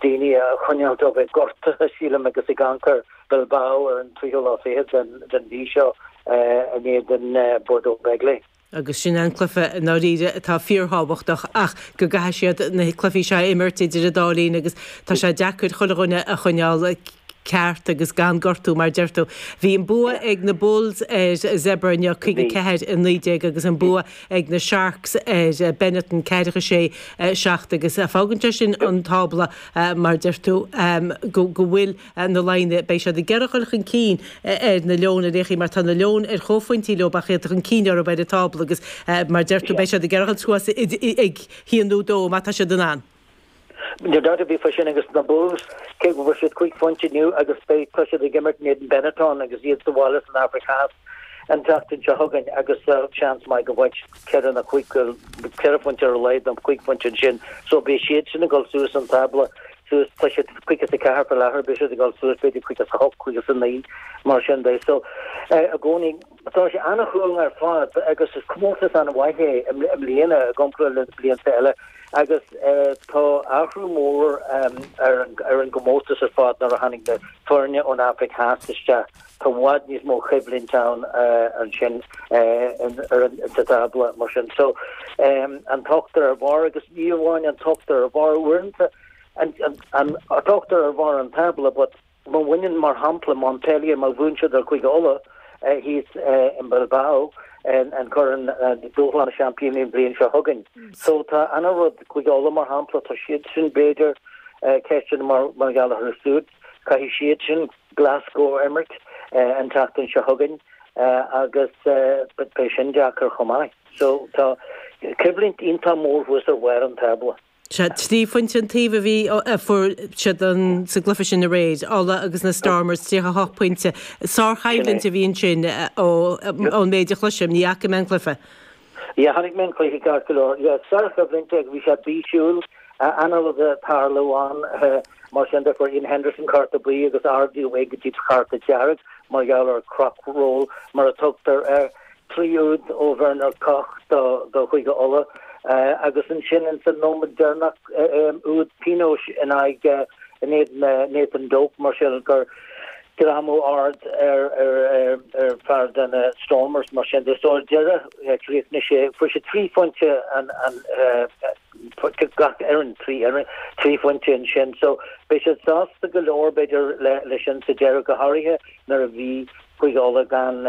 daoine a choinneáil ó bheith gortaithe, sílim, agus ag amharc ar Bilbao ar an tríú lá fichead den mhí seo in éadan Bordeaux Bègles. Agus sin an cluiche i ndáiríre atá fíorthábhachtach ach go gcaithfidh siad na cluichí seo a imirt idir an dá linn agus tá sé deacair chuile dhuine a choinneáil ceart agus gan gortú mar a deir tú. Bhí an bua ag na Bulls ar Zebre inniu, 54, 19 agus an bua ag na Sharks ar Benetton, 46, 7 agus fágann sé sin an tábla mar a deir tú go bhfuil na Laighnigh, beidh siad ag iarraidh dul chun cinn ar na Leoin ar aon chaoi mar tá na Leoin ar chomhphointí leo ach iad chun cinn orthu ar an tábla agus mar a deir tú beidh siad ag iarraidh dul suas ag haon nó dó má tá siad in ann. Níl dabht ar bith faoi sin agus na Bulls, cé go bhfuair siad cúig phointe inniu agus beidh, tá siad ag imirt in éadan Benetton agus iad sa bhaile san Afraic Theas an tseachtain seo chugainn agus seans maith go bhfaighidh siad ceithre nó cúig, ceithre phointe ar a laghad nó cúig phointe ansin so beidh siad sin ag dul suas an tábla. suas, tá siad 54 faoi láthair, beidh siad ag dul suas b'fhéidir 58, 59, mar sin de. So, i gcónaí, tá sé an-chúng ar fad agus is comórtas an-mhaith é i mbliana i gcomparáid le blianta eile agus tá athrú mór ar an gcomórtas ar fad nuair a tháinig na foirne ón Afraic Theas isteach. Tá i bhfad níos mó coimhlint ann ansin ar an sa tábla mar sin. So, an t-ochtar ar bharr agus ní amháin an t-ochtar ar bharr uaireanta, an t-ochtar ar bharr an tábla but má bhaineann mar shampla Montpellier má bhuann siad ar Chúige Uladh thíos in Bilbao an Corn Dúshlán na Seaimpíní an bhliain seo chugainn. So tá ana-rud Cúige Uladh mar shampla tá siad sin b'fhéidir ceisteanna mar mar gheall orthu siúd caithfidh siad sin Glasgow a imirt an tseachtain seo chugainn agus beidh sin deacair chomh maith. So tá coimhlint iontach mór thuas ar bharr an tábla. Sea, trí phointe an taobh a bhí, a fuair siad sa gcluiche sin aréir, Ulaidh agus na Stormers, 38 pointe. Sárchoimhlint a bhí ansin ón méid a chloisim, ní fhaca mé an cluiche. Yeah, chonaic mé an cluiche ceart go leor. Yeah, sárchoimhlint agus bhí sé bísiúil, an-rud ag tarlú ann. Mar sin de, fuair Iain Henderson cárta buí agus ardaíodh é go dtí cárta dearg mar gheall ar croc roll mar a tugtar air. 3 úd ó Werner Kok do Chúige Uladh agus ansin ins an nóiméad deireanach úd pionóis in aghaidh in éadan Nathan Doak mar sin gur greamú ard ar ar fear de na Stormers mar sin de. So ar deireadh chríochnaigh sé fuair sé 3 phointe an an gach fhoireann 3 fhoireann 3 phointe ansin. So beidh siad sásta go leor b'fhéidir le le sin sa deireadh go háirithe nuair a bhí Cúige Uladh gan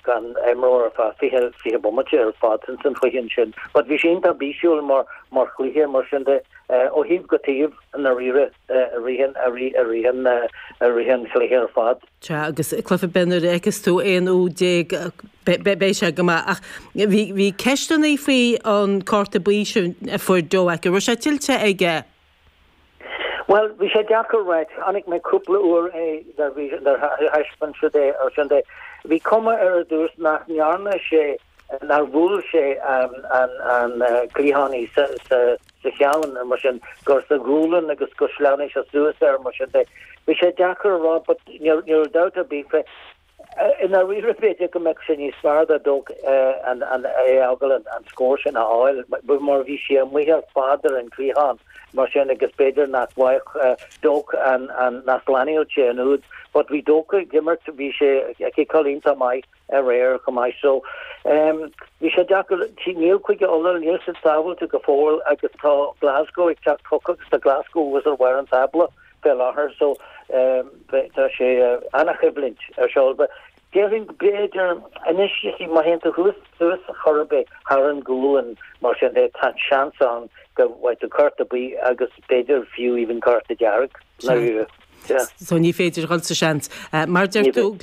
gan imreoir ar feadh 20, 20 bomaite ar fad ins an chluiche ansin. But bhí sé iontach bísiúil mar mar chluiche mar sin de ó thaobh go taobh i ndáiríre i rith an i rith i rith an i rith an chluiche ar fad. Sea agus cluiche ar bith nuair a fheiceas tú 11 úd beidh sé go maith ach bhí bhí ceisteanna faoi an cárta buí sin a fuair Doak. An raibh sé tuillte aige? Bhuel, bhí sé deacair a ráit. Chonaic mé cúpla uair é nuair bhí, nuair a thaispeáin siad é ar sin de. Bhí cuma air ar dtús nach ndearna sé, nár bhuail sé an, an, an cliathánaí sa, sa, sa cheann mar sin, gur sa ghualainn agus gur shleamhnaigh sé suas air mar sin de. Bhí sé deacair a rá but ní raibh dabht ar bith fé. I ndáiríre, b'fhéidir go mbeadh sé níos fearr do Doak an é a fhágáil an scór sin a fháil mar bhí sé amuigh ar fad ar an gcliathán mar sin agus b'fhéidir nach bhfaigheadh Doak an nach slánaíodh sé an úd. But bhí Doak ag imirt, bhí sé ag ciceáil iontach maith aréir chomh maith so bhí sé deacair. Níl Cúige Uladh, níl siad sábháilte go fóill agus tá Glasgow ag teacht chucu agus tá Glasgow thuas ar bharr an tábla. fé láthair so tá sé ana-choimhlint ar siúl. But déarfainn go b'fhéidir anois you see má théann tú thuas suas chor ar bith thar an gualainn mar sin de tá seans ann go bhfaighidh tú cárta buí agus b'fhéidir fiú even cárta dearg. Sea. So ní féidir dhul sa seans. Mar deir tú.